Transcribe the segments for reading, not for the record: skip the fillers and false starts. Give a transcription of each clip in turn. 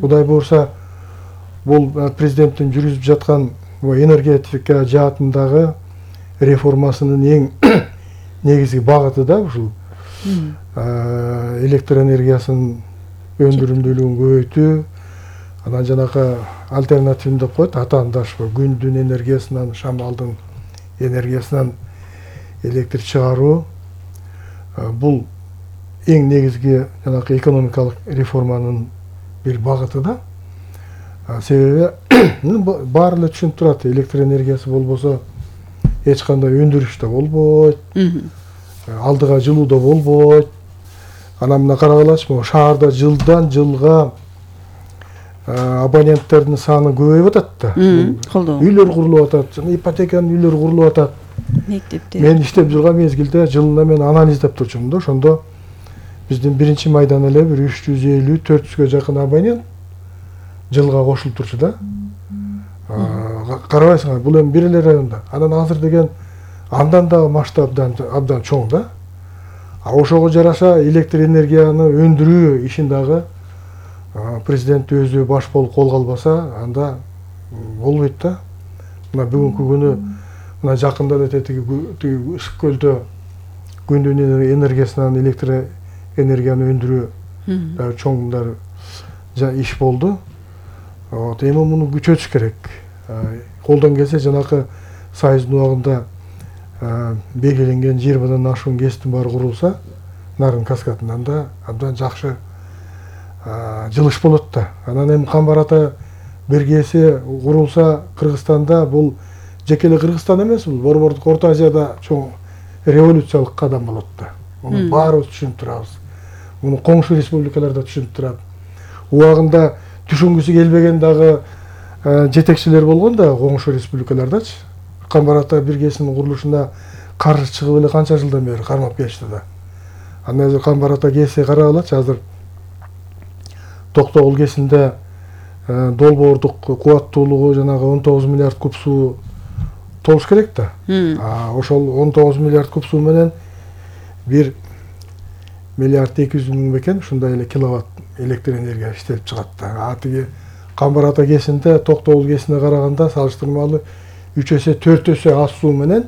Кудай буюрса, бул президенттин жүргүзүп жаткан энергетика жаатындагы реформасынын эң негизги багыты да ушул электр энергиясынын өндүрүмдүүлүгүн көбөйтүү, анан жанагы альтернативин деп коет, атаандаш күндүн энергиясынан, шамалдын энергиясынан электр чыгаруу. Бул эң негизги жанагы экономикалык реформанын бир багыты да. Себеби баары эле түшүнүп турат, электр энергиясы болбосо эч кандай өндүрүш да болбойт, алдыга жылуу да болбойт. Анан мына карагалачы, шаарда жылдан жылга абоненттердин саны көбөйүп атат да. Үйлөр курулуп атат, ипотеканын үйлөрү курулуп атат. Мен иштеп жүргөн мезгилде жылына мен анализдеп турчумун да, ошондо биздин 1-майдан эле бир 350-400гө жакын абонент жылга кошулуп турчу да. Карабайсыңар, бул эми бир эле районда. Анан азыр деген андан да масштаб абдан чоң да. Ошого жараша электр энергияны өндүрүү ишин дагы президент өзү баш болуп колго албаса, анда болбойт да. Мына бүгүнкү күнү мына жакында эле тиги Ысык көлдө күндүн энергиясынан электр энергияны өндүрүү дагы чоң иш болду. Эми муну күчөтүш керек. Колдон келсе жанакы Союздун убагында белгиленген 20-дан ашуун ГЭСтин баары курулса, нарын каскадынан да абдан жакшы жылыш болот да. Анан эми Камбар Ата бир ГЭСи курулса Кыргызстанда, бул жеке эле Кыргызстан эмес, бул Борбордук Орто Азияда чоң революциялык кадам болот да. Муну баарыбыз түшүнүп турабыз. Муну коңшу республикалар да түшүнүп турат. Убагында түшүнгүсү келбеген дагы жетекчилер болгон да коңшу республикалардачы. Камбар Ата бир ГЭСинин курулушуна каршы чыгып эле канча жылдан бери кармап келишти да. Андан азыр Камбар Ата ГЭСи карагалачы, азыр Токтогул ГЭСинде долбоордук кубаттуулугу жанагы 19 миллиард куб суу толуш керек да. Ошол 19 миллиард куб суу менен 1 миллиард 200 миң бекен ушундай эле киловатт электр энергия иштелип чыгат да. Тиги Камбар Ата ГЭСинде Токтогул ГЭСине караганда салыштырмалуу 3 эсе 4 эсе аз суу менен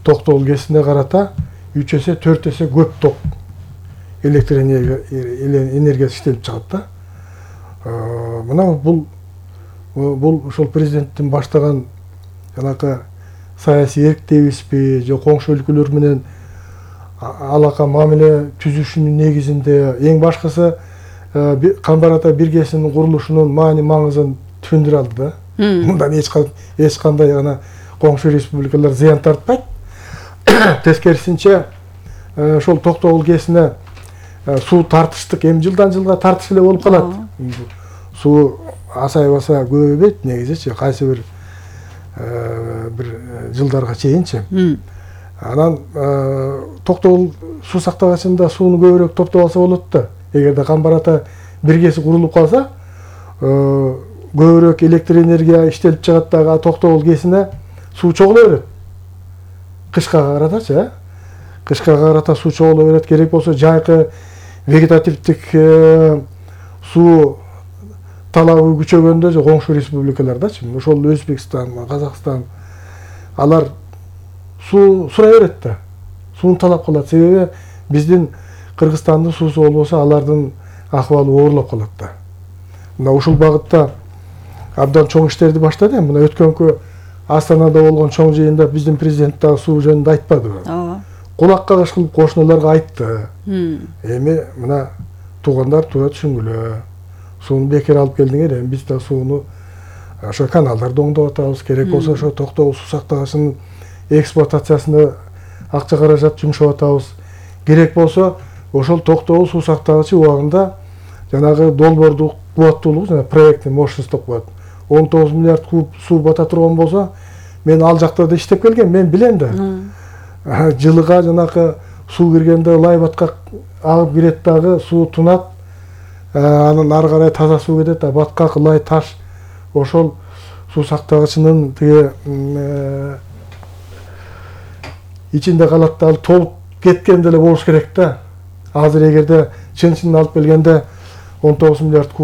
Токтогул ГЭСине карата 3 эсе 4 эсе көп ток электр энергиясы иштелип чыгат да. Мына бул ошол президенттин баштаган жанакы саясий эрк дейбизби, же коңшу өлкөлөр менен алака мамиле түзүшүнүн негизинде эң башкысы Камбар Ата бир ГЭСинин курулушунун маани-маңызын түшүндүрө алды да. Мындан эч кандай ана коңшу республикалар зыян тартпайт. Тескерисинче ошол Токтогул ГЭСине суу тартыштык эми жылдан жылга тартыш эле болуп калат. Суу асайбаса көбөйбөйт негизичи, кайсы бир жылдарга чейинчи. Анан Токтогул суу сактагычында сууну көбүрөөк топтоп алса болот да. Эгерде Камбар Ата бир ГЭСи курулуп калса, көбүрөөк электр энергия иштелип чыгат дагы, Токтогул ГЭСине суу чогула берет. Кышка каратачы, кышка карата суу чогула берет. Керек болсо жайкы вегетативдик суу талабы күчөгөндө же коңшу республикалардачы, ошол Өзбекстан, Казакстан, алар суу сурай берет да. Сууну талап кылат. Себеби биздин Кыргызстандын суусу болбосо алардын акыбалы оорлоп калат да. Мына ушул багытта абдан чоң иштерди баштады. Мына өткөнкү Астанада болгон чоң жыйында биздин президент дагы суу жөнүндө айтпадыбы? Кулакка кыш кылып кошуналарга айтты. Эми мына туугандар туура түшүнгүлө. Сууну бекер алып келдиңер, эми биз да сууну ошо каналдарды оңдоп атабыз. Керек болсо ошо Токтогул суу сактагычынын эксплуатациясына акча каражат жумшап атабыз. Керек болсо ошол Токтогул суу сактагычы убагында жанагы долбоордук кубаттуулугу, жана проектный мощность деп коет. 19 миллиард куб суу бата турган болсо, мен ал жакта да иштеп келгем, мен билем да. Жылыга жанакы суу киргенде лай баткак агып кирет дагы, суу тунат. Анан ары карай таза суу кетет, баткак, лай, таш ошол суу сактагычынын тиги ичинде калат да, ал толуп кеткен деле болуш керек да. Азыр эгерде чын алып келгенде 19 миллиард куб